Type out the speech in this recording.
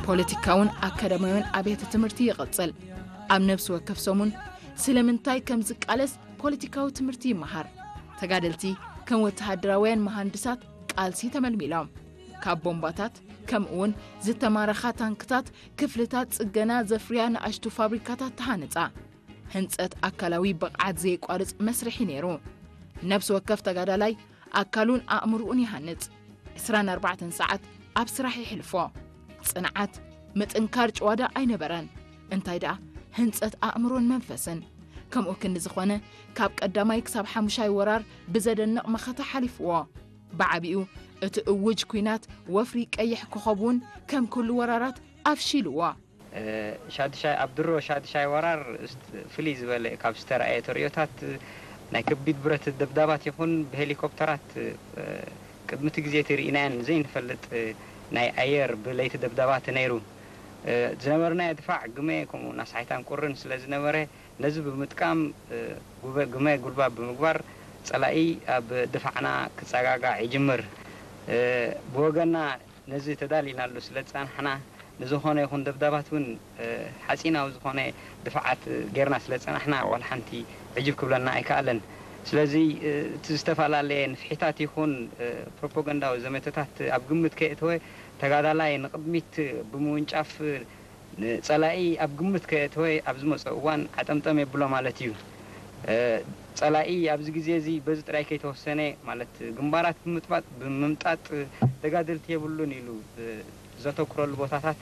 ፖለቲካውን ኣካዳሚያውን ኣብያተ ትምህርቲ ይቕጽል። ኣብ ነፍሲ ወከፍ ሰሙን ስለምንታይ ከም ዝቃለስ ፖለቲካዊ ትምህርቲ ይመሃር። ተጋደልቲ ከም ወተሃደራውያን መሃንድሳት ቃልሲ ተመልሚሎም። ካብ ቦምባታት ከምኡውን ዝተማረኻ ታንክታት ክፍልታት ጽገና ዘፍርያ ንኣሽቱ ፋብሪካታት ተሃነጻ። ህንጸት ኣካላዊ ብቕዓት ዘየቋርጽ መስርሒ ነይሩ። ነፍሲ ወከፍ ተጋዳላይ ኣካሉን ኣእምሮኡን ይሃንጽ። ዕስራን ኣርባዕተን ሰዓት ኣብ ስራሕ ይሕልፎ። ጽንዓት፣ ምጥንካር ጭዋዳ ኣይነበረን። እንታይ ደኣ ህንጸት ኣእምሮን መንፈስን። ከምኡ ክንዲ ዝኾነ ካብ ቀዳማይ ክሳብ ሓሙሻይ ወራር ብዘደንቕ መኸተ ሓሊፍዎ። ብዓቢኡ እቲ እውጅ ኲናት ወፍሪ ቀይሕ ኮኸብ እውን ከም ኩሉ ወራራት ኣፍሺልዎ። እ፣ ሻድሻይ፣ ኣብ ድሮ ሻድሻይ ወራር እስት-፣ ፍልይ ዝበለ ካብ ዝተረኣየ ተርእዮታት ናይ ከቢድ ብረት ደብዳባት ይኹን ብሄሊኮፕተራት፣ እ፣ ቅድሚ እቲ ግዜ እቲ ርኢናየን ዘይንፈልጥ ናይ ኣየር ብለይቲ ደብዳባት ነይሩ። እ፣ ዝነበርናዮ ድፋዕ ግመ ከምኡ ናስሓይታን ቁርን ስለ ዝነበረ ነዚ ብምጥቃም፣ እ፣ ጉበ-፣ ግመ ጉልባብ ብምግባር ጸላኢ ኣብ ድፋዕና ክጸጋጋዕ ይጅምር። እ፣ ብወገና ነዚ ተዳሊናሉ ስለ ዝጸናሕና፣ ንዝኾነ ይኹን ደብዳባት እውን፣ እ፣ ሓጺናዊ ዝኾነ ድፋዓት ጌርና ስለ ዝጸናሕና፣ ዋላ ሓንቲ ዕጅብ ክብለና ኣይከኣለን። ስለዚ፣ እ፣ እቲ ዝተፈላለየ ንፍሒታት ይኹን፣ እ፣ ፕሮፓጋንዳዊ ዘመተታት ኣብ ግምት ከየእተወ፣ ተጋዳላይ ንቕድሚት ብምውንጫፍ፣ ንጸላኢ ኣብ ግምት ከየእተወ ኣብ ዝመጾ እዋን ዓጠምጠም የብሎ ማለት እዩ። እ፣ ጸላኢ ኣብዚ ግዜ እዚ በዚ ጥራይ ከይተወሰነ፣ ማለት ግንባራት ብምጥባጥ፣ ብምምጣጥ ተጋደልቲ የብሉን ኢሉ፣ እ፣ ዘተኩረሉ ቦታታት